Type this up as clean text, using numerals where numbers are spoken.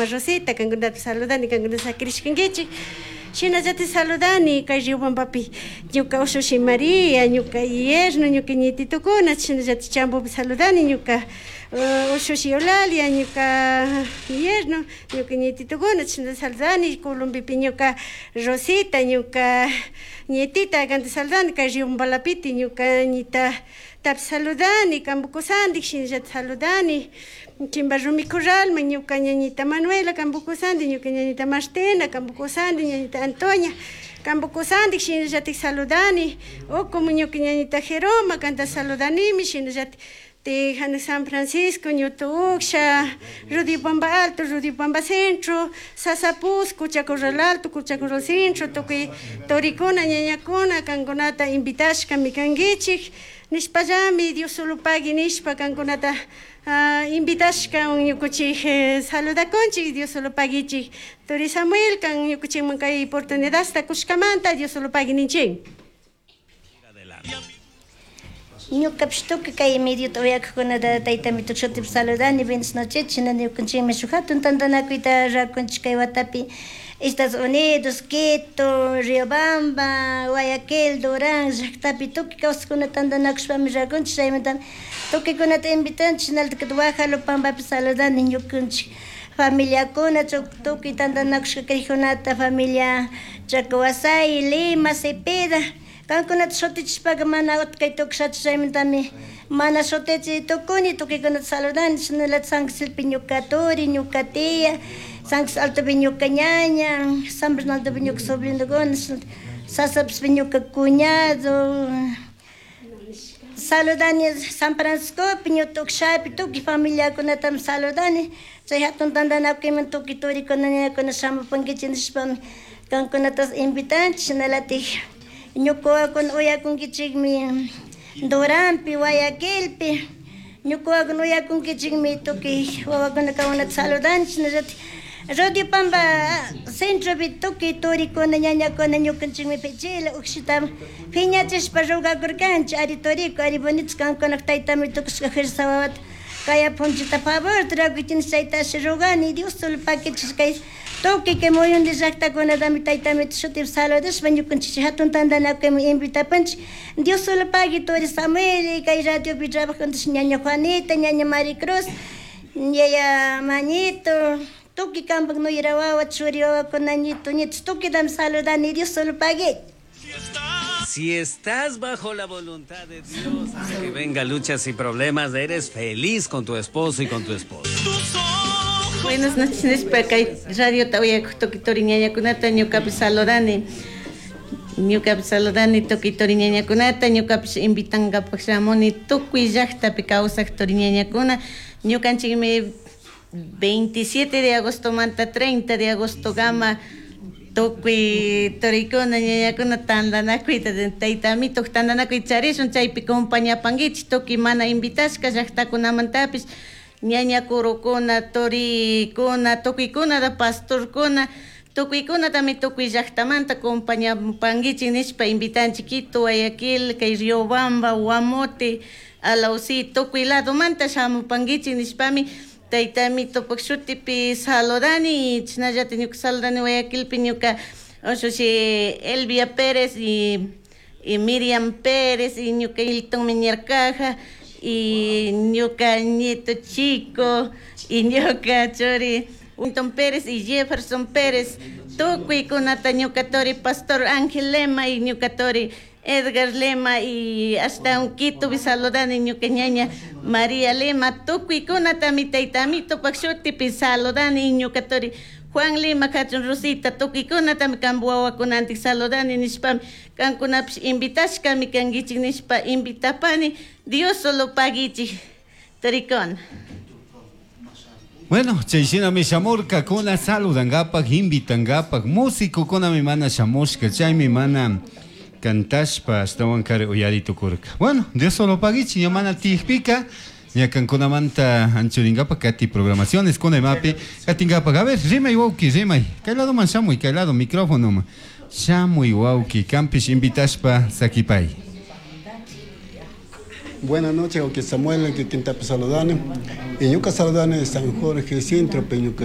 Mama Rosita kankunata saludani, kankuna sakirishkankichik. Shinallatik saludani kay Riobambapi ñuka ushushi María, ñuka yerno, ñuka ñititukuna, shinallatik Chambopi saludani ñuka ushushi Eulalia, ñuka yerno, ñuka ñititukuna, chashna saludani Colombipi ñuka Rosita, ñuka ñitita kanta saludani kay Riobambalapiti ñuka ñita tapi saludani, kambukusandik shinallatik saludani Chimba Rumi Corralman ñuka ñañita Manuela kambukusandi, ñuka ñañita Martina kambukusandi, ñañita Antonia kambukusandik shinallatik saludani, o como ñuka ñañita Jeroma kanta saludanimi, shinallatik Tejana San Francisco, Ñuto Uksha, Rudipamba Alto, Rudipamba Centro, Sasapusco, Chacorral Alto, Chacorral Centro, tukuy torikuna, ñañakuna, kankunata invitashkami kankichik, nishpallami Dios solo pagui nishpa kankunata invitashka ñukuchik saludakunchik, Dios solo paguichik. Tori Samuel kan ñukuchikman kay oportunidadta kushkamanta Dios solo pagui ninchik. Ñukapish tukuy kay mediota uyakkunata taytamito shutipi saludani, buenas noches, china ñukanchikmi shuk hatun tantanakuyta rakunchik kay watapi Estados Unidos, Quito, Riobamba, Guayaquil, Durán llaktapi tukuy kawsakuna tantanakushpami rakunchik, chaymantami tukuykunata invitanchik, shinalatak Guajalupambapi saludani ñukanchik familiakuna, tukuy tantanakushka kaykunata, familia Chacahuasay, Lima, Cepeda, kankunata shutichishpaka mana utkay tukushachu, chaymantami mana shutichi tukuni, tukuykunata saludani, shinalatak San Giselepi ñuka turi, ñuka tía, San Gisele Altopi ñuka ñaña, San Bernardopi ñuka sobrinokuna, Sasapispi ñuka cuñado, saludani San Franciscopi, ñuka ukshapi, tukuy familiakunatami saludani, chay hatun tantanakuyman tukuy turikuna ñañakuna shamupankichik nishpami kankunata invitanchik, shinalatik ñuka wawakuna uyakunkichikmi Duranpi, Guayaquilpi, ñuka wawakuna uyakunkichikmi tukuy wawakuna kankunata saludanchik, shinallatik Radio Pamba centropi tukuy turikuna ñañakuna ñukanchikmi pichila ukshita phiñachishpa rogakurkanchik, ari turiku, ari bonito kankunak taytami tukushka fuerza wawata kaya punchita favor rakuchin chaytashi rogani, Dios solo pakichish kay tukuy kay muyunti llaktakunatami taytamito shutipi saludashpa ñukanchik hatun tantanakuyman invitapanchik, Dios solo pagui turi Samuel kay radiopi trabajantash ñaña Juanita, ñaña Maricruz, yaya Mañito, tukuy kampak nuyra wawa, churi wawakuna, ñito, ñitos, tukuytami saludani, Dios solo pagui. Si estás bajo la voluntad de Dios, aunque venga luchas y problemas, eres feliz con tu esposo y con tu esposa. Buenas noches, nishpa kay radio uyakuq tukuy turi ñañakunata ñukapish saludani. Ñukapish saludani tukuy turi ñañakunata, ñukapish invitankapak shamuni tukuy llaktapi kawsaq turi ñañakuna. Ñukanchikmi 27 de agosto manta 30 de agosto gama tukuy turikuna ñañakuna tantanakuyta taytamito tantanakuy charishun, chaypi compañapankichik tukuy mana invitashka llaktakunamantapish ñaña kurukuna, turikuna, tukuykunata pastorkuna, tukuykunatami tukuy llaktamanta compañapankichik nishpa invitanchik Quito, Guayaquil, kay Riobamba, Guamote, Alausí, tukuy ladomanta shamupankichik nishpami taytamitopak shutipi saludani, chashnallatik ñuka saludani Guayaquilpi ñuka ushushi Elvia Pérez y Miriam Pérez y ñuka Hilton Miñarcaja y ñuka nieto chico y ñuka churi Hilton Pérez y Jefferson Pérez, tukuykunata ñuka tori Pastor Ángel Lema y ñuka tori Edgar Lema y hasta un Quito saludani ñuka ñaña María Lema, tukuykunatami taytamitopak shutipi saludani ñuka tori Juan Lema kachun Rosita, tukuykunatami kampu wawakunantik saludani nishpami kankunapish invitashkami kankichik nishpa invitapani, Dios solo paguichik torikuna. Bueno, chayshinami shamurkakuna saludankapak, invitankapak, músicokunami mana shamushka, chaymi mana cantashpa ashtawan kari uyari tukurka. Bueno, Dios solo paguichik, ña mana tiyakpika, ña kankunamanta anchurinkapak kati programaciones kuna imapi katinkapak. A ver, rimay wawki, rimay. Kay lado man shamuy, kay lado micrófono man. Shamuy wawki, kampish invitashpa sakipay. Buenas noches, wawki Samuel, que quintapi saludani. Y ñuka saludani San Jorge Centro, pe ñuka